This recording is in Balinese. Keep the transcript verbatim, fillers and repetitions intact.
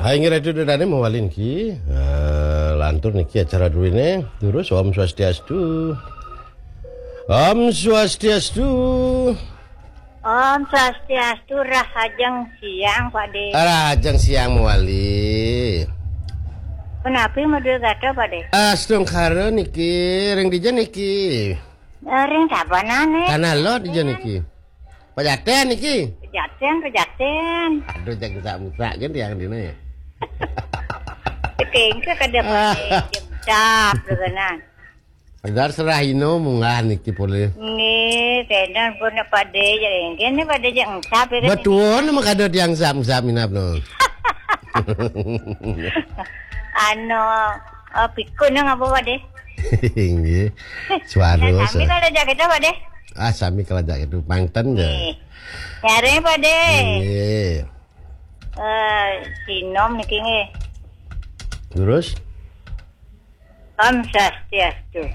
Hai, inggih Ratu Dodane mawali niki. Eh, lantur niki acara druene. Terus Om Swastiastu. Om Swastiastu. Om Swastiastu, rahajeng siang, Pak De. Rahajeng siang mawali. Punapi madue gatra, Pak De? Astungkara niki, ring dija niki? Eh, ring Tabanan, eh. Tanah Lot dija niki. Pejaten niki. Pejaten, Pejaten. Aduh, jang sak musak kan tiang dina ya. Tekengke kada Pak De, jebdak, tenan. Dar serah ino munggah niki polih. Nggih, tenan pun Pak De, ya, nggih, ni Pak De, jang engsap, ya, kan? Betul, nama kada tiang sap-sap minap no. Anu, eh, pikun nang apa, Pak De? Nggih. Suara. Nah, sami kalau jak kita, Pak De? Ah, sami kalau jak itu. Pangten ya. Nggih. Nyari, Pak De. Nggih. Eh, sinom niki nggih. Terus? Om Swastiastu.